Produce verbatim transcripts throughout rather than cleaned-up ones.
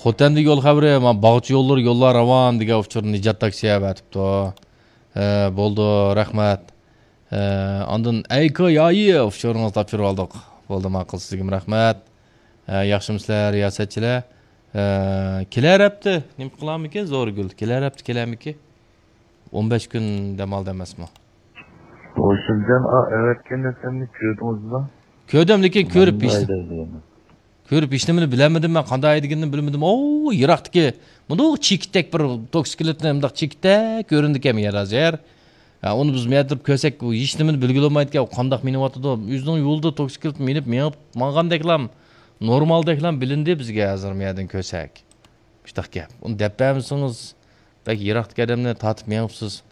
خوتەندە يول خەۋىرى، ما، باغچە يوللىرى يوللار راۋان دېگەن ئۇچۇرنى نىجات تاكسى ئەۋەتىپتۇ. ھە، بولدى، رەھمەت. ھە، ئاندىن ئەيكا يايى ئۇچۇرىڭىزنى تاپشۇرۇپ ئالدۇق. بولدى، ماقۇل، سىزگىمۇ رەھمەت. ھە، ياخشىمۇسىلەر، رىياسەتچىلەر؟ ھە، كېلەر ھەپتە نېمە قىلارمىكىن زورىگۈل؟ كېلەر ھەپتە كېلەرمىكىن؟ ئون بەش كۈن دەم ئالدى ئەمەسمۇ؟ ھوشۇمجان، ئا، ئەۋەتكەن نەرسەمنى كۆردىڭىزمۇ؟ كۆردۈم، لېكىن كۆرۈپ مەن ھېچ، ھەيدەيدىغىنى. كۆرۈپ ھېچنېمىنى بىلەلمىدىم مەن، قانداق ھەيدىگىنىنى بىلمىدىم. ئو، يىراقتىكى مۇنداق چېكىتتەك بىر توكسىكلىتنى مۇنداق چېكىتتەك كۆرۈندىكەن يەر ھازىر. ھە، ئۇنى بىز مۇيەددىپ كۆرسەك، ئۇ ھېچنېمىنى بىلگىلى بولمايدىكەن، ئۇ قانداق مېڭىۋاتىدۇ. ئۆزىنىڭ يولىدا توكسىكلىت مىنىپ، مېڭىپ ماڭغاندەكلام، نورمالدەكلام بىلىندى بىزگە ھازىر مۇيەردىن كۆرسەك. مۇشتاق گەپ. ئۇنى دەپ بەرمىسىڭىز، بەك يىراقتىكى ئادەمنى تارتىپ مېڭىپسىز.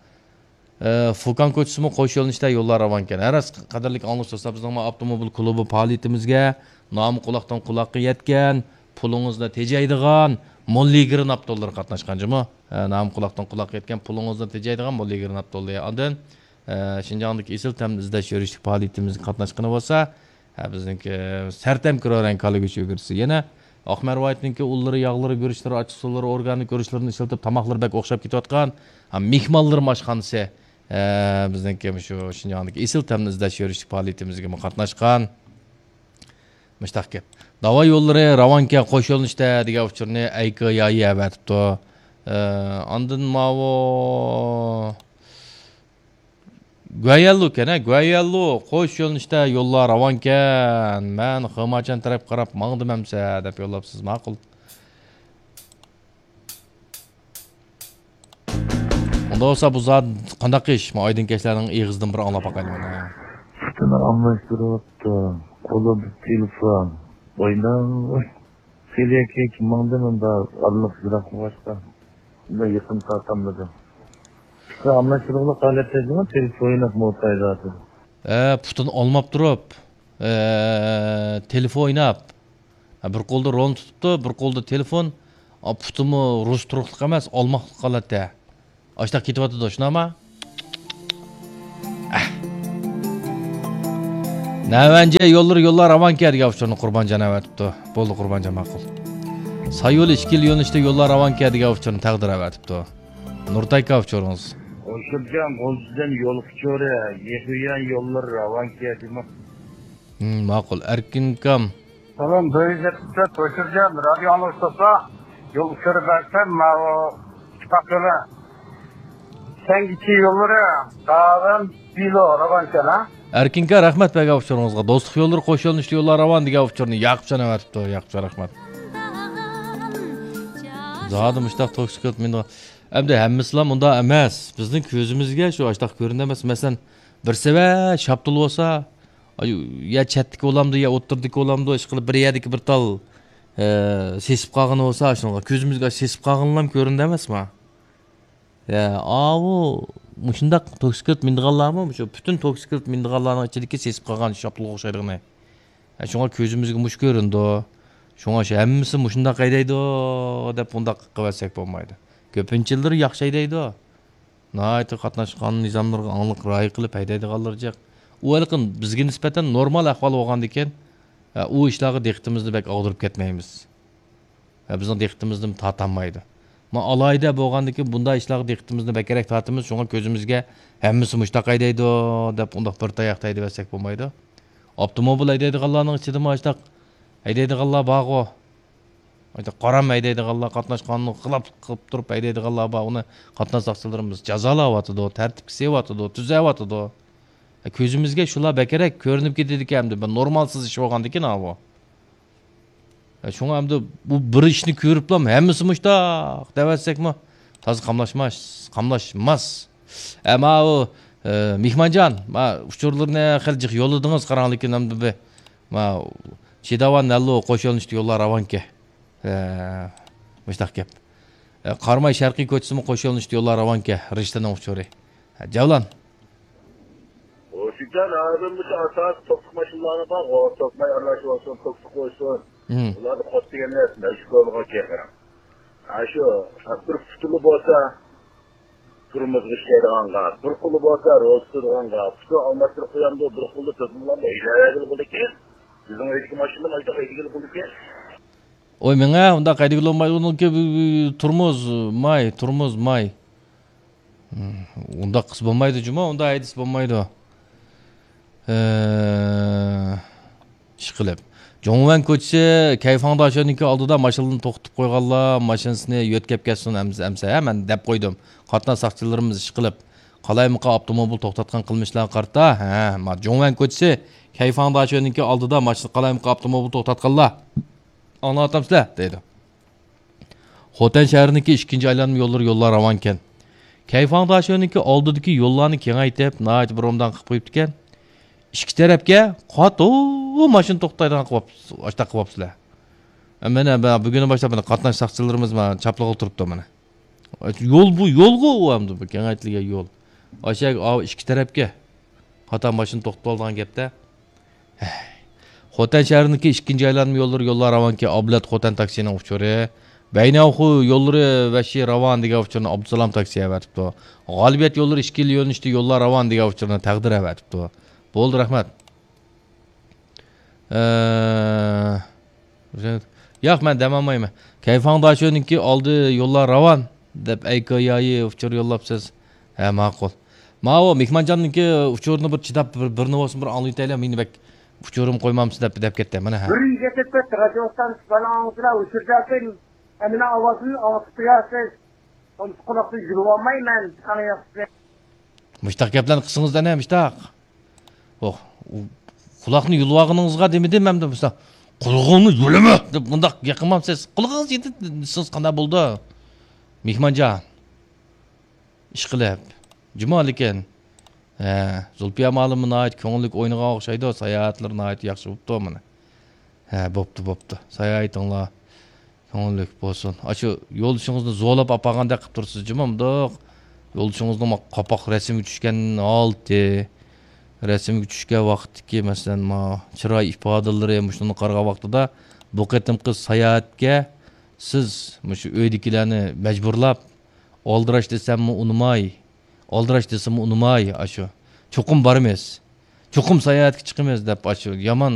ئە، فۇكان كوچىسىمۇ قوش يۆنىلىشتە يوللار راۋانكەن. ھە راست، قەدىرلىك ئاڭلىغۇچىلار، بىزنىڭ ئاپتوموبىل كۇلۇبى پائالىيىتىمىزگە نامى قۇلاقتىن قۇلاققا يەتكەن، پۇلىڭىزنى تېجەيدىغان موللىگرىن ئاپتوللىرى قاتناشقان جۇمۇ. ئە، نامى قۇلاقتىن قۇلاققا يەتكەن، پۇلىڭىزنى تېجەيدىغان موللىگرىن ئاپتوللىرى. ئاندىن، ئە، شىنجاڭدىكى ئېسىل تەمنى ئىزدەش يۈرۈشلۈك پائالىيىتىمىزگە قاتناشقىنى بولسا، ھە، بىزنىڭكى سەرتەم كىرورەڭ كالا گۆشى ئۈگرىسى. يەنە ئاق مەرۋايىتنىڭكى ئۇنلىرى، ياغلىرى، گۈرۈچلىرى، ئاچچىق سۇلىرى، ئورگانىك گۈرۈچلىرىنى ئىشلىتىپ، تاماقلىرى بەك ئوخشاپ كېتىۋاتقان، ھە، مېھمانلىرىم ئاشخانىسى، ھە، بىزنىڭكى مۇشۇ شىنجاڭدىكى ئېسىل تەمنى ئىزدەش يۈرۈشلۈك پائالىيىتىمىزگىمۇ قاتناشقان. مۇشتاق گەپ. داۋا يوللىرى راۋانكەن، قوش يۆنىلىشتە دېگەن ئۇچۇرنى ئەيكا يايى ئەۋەتىپتۇ. ھە، ئاندىن ماۋۇ گۇەيەنلۇ ئىكەن، ھە، گۇەيەنلۇ، قوش يۆنىلىشتە يوللار راۋانكەن. مەن خېماچان تەرەپ قاراپ ماڭدىم ئەمسە، دەپ يوللاپسىز، ماقۇل. ئۇنداق بولسا بۇ زادى قانداق ئىش؟ مانا ئايدىڭ كەچلەرنىڭ ئېغىزىدىن بىر ئاڭلاپ باقايلى مانا. پۇتىنى ئالماشتۇرۇۋاپتۇ، قولىدا تېلېفون. ئويناڭ. سېلىيەككە ماڭدىم، ئۇندا ئارىلىق يىراق بولغاچقا، ئۇندا يېقىن تارتالمىدىم. ئىشقا ئالماشتۇرغۇلۇق ھالەتتە جۇمۇ تېلېفون ئويناپ مولتايداتىدۇ. ھە، پۇتىنى ئالماپ تۇرۇپ، ھە، تېلېفون ئويناپ. ھە، بىر قولدا رول تۇتۇپتۇ، بىر قولدا تېلېفون. ئا، پۇتىمۇ رۇس تۇرۇقلۇق ئەمەس، ئالماقلىق ھالەتتە. ئاشتاق كېتىۋاتىدۇ، شۇنداقما؟ ئەھ. نەۋەنجە يوللىرى يوللار راۋانكەن دېگەن ئۇچۇرنى قۇربانجان ئەۋەتىپتۇ. بولدى، قۇربانجان، ماقۇل. سايول ئىككىلا يۆنىلىشتە يوللار راۋانكەن دېگەن ئۇچۇرنى تەقدىر ئەۋەتىپتۇ. نۇرتاي ئاكا، ئۇچۇرىڭىز. ھوشۇمجان، غۇلجىدىن يول ئۇچۇرى، يېقۇيان يوللىرى راۋانكەن دېمە. ھىم، ماقۇل. ئەركىن ئاكام. سالام، بىر يۈز يەتمىش تۆت، ھوشۇمجان، رادىيو ئاڭلىغۇچى دوستلار، يول ئۇچۇرى بەرسەم، ماۋۇ ئىتتىپاق يولى سەنگىچى يوللىرى، داۋەن، بىلو، راۋانكەن، ھە؟ ئەركىن ئاكا، رەھمەت بەرگەن ئۇچۇرىڭىزغا. دوستلۇق يوللىرى، قوش يۆنىلىشلىك يوللار راۋان دېگەن ئۇچۇرنى ياقۇپجان ئەۋەتىپتۇ. ياقۇپجان، رەھمەت. زادى مۇشتاق توكسىكلىت مېنى. ئەمدى ھەممىسىلا مۇنداق ئەمەس. بىزنىڭ كۆزىمىزگە شۇ ئاشتاق كۆرۈندى ئەمەس. مەسىلەن، بىر سەۋە شاپتۇل بولسا، ئاي، يا چەتتىكى بولامدۇ، يا ئوتتۇرىدىكى بولامدۇ، ئىشقىلىپ بىر يەردىكى بىر تال، ئە، سېسىپ قالغىنى بولسا، شۇنىڭغا كۆزىمىزگە سېسىپ قالغىنىلام كۆرۈندى ئەمەسما؟ يا، ئاۋۇ، مۇشۇنداق توكسىكلىت مىنىدىغانلارمۇ، مۇشۇ پۈتۈن توكسىكلىت مىنىدىغانلارنىڭ ئىچىدىكى سېسىپ قالغان شاپتۇلغا ئوخشايدىغىنى. ھە، شۇڭا كۆزىمىزگە مۇشۇ كۆرۈنىدۇ. شۇڭا شۇ ھەممىسى مۇشۇنداق ھەيدەيدۇ دەپ ئۇنداق قىلىۋەتسەك بولمايدۇ. كۆپىنچىلىرى ياخشى ھەيدەيدۇ. ناھايىتى قاتناش قانۇن نىزاملىرىغا ئاڭلىق رىئايە قىلىپ ھەيدەيدىغانلىرى جىق. ئۇ ھېلىقى بىزگە نىسبەتەن نورمال ئەھۋال بولغاندىكىن، ئۇ ئىشلارغا دىققىتىمىزنى بەك ئاغدۇرۇپ كەتمەيمىز. ۋە بىزنىڭ دىققىتىمىزنىمۇ تارتالمايدۇ. مانا ئالاھىدە بولغاندىكىن بۇنداق ئىشلارغا دىققىتىمىزنى بەكرەك تارتىمىز، شۇڭا كۆزىمىزگە ھەممىسى مۇشتاق ھەيدەيدۇ دەپ ئۇنداق بىر تاياقتا ھەيدىۋەتسەك بولمايدۇ. ئاپتوموبىل ھەيدەيدىغانلارنىڭ ئىچىدىمۇ ئاشتاق ھەيدەيدىغانلار بارغۇ. ئاشتاق قارام ھەيدەيدىغانلار، قاتناش قانۇنىغا خىلاپ قىلىپ تۇرۇپ ھەيدەيدىغانلار بار، ئۇنى قاتناش ساقچىلىرىمىز جازالاۋاتىدۇ، تەرتىپكە سېلىۋاتىدۇ، تۈزەۋاتىدۇ. كۆزىمىزگە شۇلار بەكرەك كۆرۈنۈپ كېتىدىكەن، ئەمدى بىر نورمالسىز ئىش بولغاندىكىن ئاۋۇ. ئە، شۇڭا ئەمدى بۇ بىر ئىشنى كۆرۈپلا ھەممىسى مۇشتاق دەۋەتسەكمۇ تازا قاملاشماس، قاملاشماس. ئە، ماۋۇ، ئە، مېھمانجان، ما ئۇچۇرلىرىنى خېلى جىق يوللىدىڭىز، قاراڭ، لېكىن ئەمدى بىر، ما، شىداۋان نەللۇ قوش يۆنىلىشتە يوللار راۋانكەن. ئە، مۇشتاق گەپ. ئە، قاراماي شەرقىي كوچىسىمۇ قوش يۆنىلىشتە يوللار راۋانكەن، رىشتىنىڭ ئۇچۇرى. ھە، جەۋلان. ھوشۇمجان، ھازىر مۇشۇ ئاساسىي توكسىك ماشىنىلارنى بار، توكماي ئارىلاش بولسۇن، توكسىك بولسۇن. مم. ئۇلارنى قوت دېگەن نەرسە مەشھۇر بولىدىغان چېقىرىڭ. ھە، شۇ، بىر پۇتىلا بولسا، تۇرمۇزغا ئىشلەيدىغانغا، بىر قولى بولسا، رول تۇتىدىغانغا، پۇتىنى ئالماشتۇرۇپ قويامدۇ، بىر قولدا تېلېفون بىلەن ھەيدەۋەرگىلى بولىدىكەن. بىزنىڭ ئۆيدىكى ماشىنىنى ئايدا ھەيدىگىلى بولىدىكەن. ئوي مېڭە، ئۇنداق ھەيدىگىلى بولمايدۇ، ئۇنىڭكى تۇرمۇز ماي، تۇرمۇز ماي. ئۇنداق قىلسا بولمايدۇ جۇمۇ، ئۇنداق ھەيدىسە بولمايدۇ. ئىشقىلىپ، جوڭۋەن كوچىسى كەيفاڭداشۆنىڭكى ئالدىدا ماشىنىنى توختىتىپ قويغانلار ماشىنىسىنى يۆتكەپ كەتسۇن ئەمسە، ئەمسە ھە، مەن دەپ قويدۇم. قاتناش ساقچىلىرىمىز ئىشقىلىپ، قالايمىقان ئاپتوموبىل توختاتقان قىلمىشلارغا قارىتا، ھە، ما جوڭۋەن كوچىسى كەيفاڭداشۆنىڭكى ئالدىدا ماشىنا، قالايمىقان ئاپتوموبىل توختاتقانلار. ئاڭلاۋاتامسىلەر؟ دەيدۇ. خوتەن شەھىرىنىڭكى ئىككىنچى ئايلانما يوللىرى يوللار راۋانكەن. كەيفاڭداشۆنىڭكى ئالدىدىكى يوللارنى كېڭەيتىپ، ناھايىتى بىر ئوبدان قىلىپ قويۇپتىكەن. ئىككى تەرەپكە قاتۇ ماشىنا توختايدىغان قىلىپ، ئاشتاق قىلىپسىلەر. مانا بۈگۈندىن باشلاپ مانا قاتناش ساقچىلىرىمىز مانا چاپلىغىلى تۇرۇپتۇ مانا. يول بۇ، يولغۇ ئۇ ئەمدى بۇ كېڭەيتىلگەن يول. ئاشۇ ئىككى تەرەپكە قاتار ماشىنا توختىتىۋالىدىغان گەپتە. خوتەن شەھىرىنىڭكى ئىككىنچى ئايلانما يوللىرى يوللار راۋانكەن. ئابلەت خوتەن تاكسىنىڭ ئۇچۇرى. بەينەخۇ يوللىرى ۋەھشىي راۋان دېگەن ئۇچۇرنى ئابدۇسالام تاكسى ئەۋەتىپتۇ. غالىبىيەت يوللىرى ئىككىلا يۆنىلىشتە يوللار راۋان دېگەن ئۇچۇرنى تەقدىر ئەۋەتىپتۇ. بولدى، رەھمەت. ئە، ياق، مەن دەم ئالمايمەن. كەيفاڭداشۆنىڭكى ئالدى يوللار راۋان دەپ ئەيكايايى ئۇچۇر يوللاپسىز. ھە، ماقۇل. ماۋۇ مېھمانجاننىڭكى ئۇچۇرىنى بىر چىداپ، بىر، بىرنى بولسۇن بىر ئاڭلىۋېتەيلى، مېنى بەك ئۇچۇرۇم قويمامسىز دەپ، دەپ كەتتى. مانا، ھە. بىر يىگىت ئۆتۈپ كەتتى، رادىيو ئىستانسىسى بالا ئاڭلىسىلا، ئۇچۇر دەپتىن، ئەمىنە ئاۋازىنى ئاڭلىتىپ قويارسىز. ئۇنسۇ قۇلاقنى يۇلۇۋالمايمەن، ئاڭلىياقسىز. مۇشتاق گەپلەرنى قىلسىڭىز دەنە، مۇشتاق. ئوھ، ئۇ قۇلاقنى يۇلۇۋالغىنىڭىزغا دېمىدىم ئەمدى، مۇشتاق. قۇلىقىڭنى يۇلىمە دەپ مۇنداق گەپ قىلمامسىز؟ قۇلىقىڭىز يېتىپ، سىز قانداق بولدى؟ مېھمانجان. ئىشقىلىپ. جۇما لېكىن. ھە، زۇلپىيە مالىممۇ ناھايىتى كۆڭۈللۈك ئوينىغان ئوخشايدۇ، ساياھەتلىرى ناھايىتى ياخشى بوپتۇ مانا. ھە، بوپتۇ، بوپتۇ. ساياھىتىڭلار كۆڭۈللۈك بولسۇن. ئاشۇ يولدىشىڭىزنى زورلاپ ئاپارغاندەك قىلىپ تۇرسىز جۇما، مۇنداق. يولدىشىڭىزنىڭ ما قاپاق رەسىمگە چۈشكەن ھالىتى، رەسىمگە چۈشكەن ۋاقىتتىكى، مەسىلەن، ما چىراي ئىپادىلىرى، مۇشۇنىڭغا قارىغان ۋاقتىدا بۇ قېتىمقى ساياھەتكە سىز مۇشۇ ئۆيدىكىلەرنى مەجبۇرلاپ، ئالدىراش دېسەممۇ ئۇنىماي، ئالدىراش دېسىمۇ ئۇنىماي، ئاشۇ، چوقۇم بارىمىز، چوقۇم ساياھەتكە چىقىمىز دەپ، ئاشۇ يامان